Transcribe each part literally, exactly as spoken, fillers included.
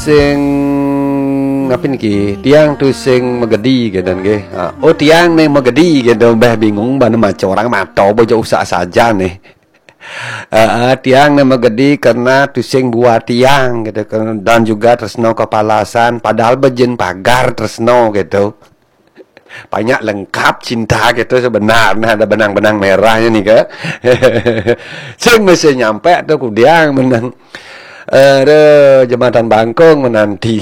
Sing apa niki? Tiang tu sing magedi gitu nggih. Ah, oh, tiang nih magedi gitu, mbah bingung bana maca orang mato bojo usak saja nih. Ah, ah, tiang nih magedi karena tu sing buah tiang gitu kan, dan juga tresno kepalasan, padahal bejin pagar tresno gitu. Banyak lengkap cinta gitu sebenarnya, ada benang-benang merahnya nih ke. Sing mesti nyampe tuh kudiang menang. Aduh, jembatan bangkung menanti.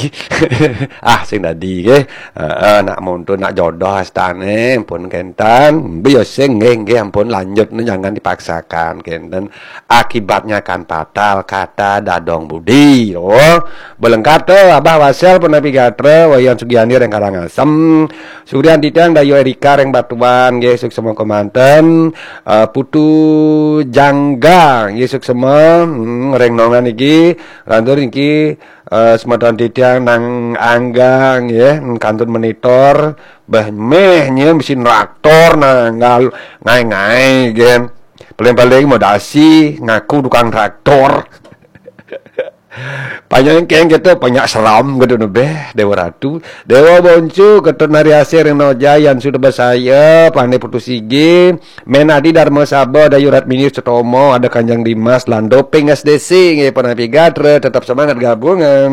Ah, sing tadi ke. Heeh, nak muntu nak jodoh astane pun kenten. Biyo sing nggih, nggih, ampun, lanjut nih, jangan dipaksakan kenten. Akibatnya kan fatal, kata dadong budi. Oh, belengkap tuh Abah Wasel pun Nabi Gatra, Wayan Sugiani Reng Karangasem. Sugrian Titiang Dayu Erika Reng Batuan nggih, suksema kemanten. Eh, Putu Jangga nggih, suksema, hmm, Reng Nongan niki, lantur niki, eh, semeton Titiang Nang Angga nggih, hmm, kantun monitor. Bah meh nyen mesin traktor nanggal ngai-ngai gen. Paling-paling modasi ngaku tukang traktor. Panjang keng gitu, banyak seram gitu nebeh, Dewa Ratu. Dewa Boncu, Ketut Nari Asih, Reno Jayan, sudah bersaya, Pandai Putu Sigi, Menadi Dharma Saba, Dayu Ratmini Sutomo, ada Kanjeng Dimas, Lando Ping S D C, nggih, Panapi Gatra, tetap semangat gabungan.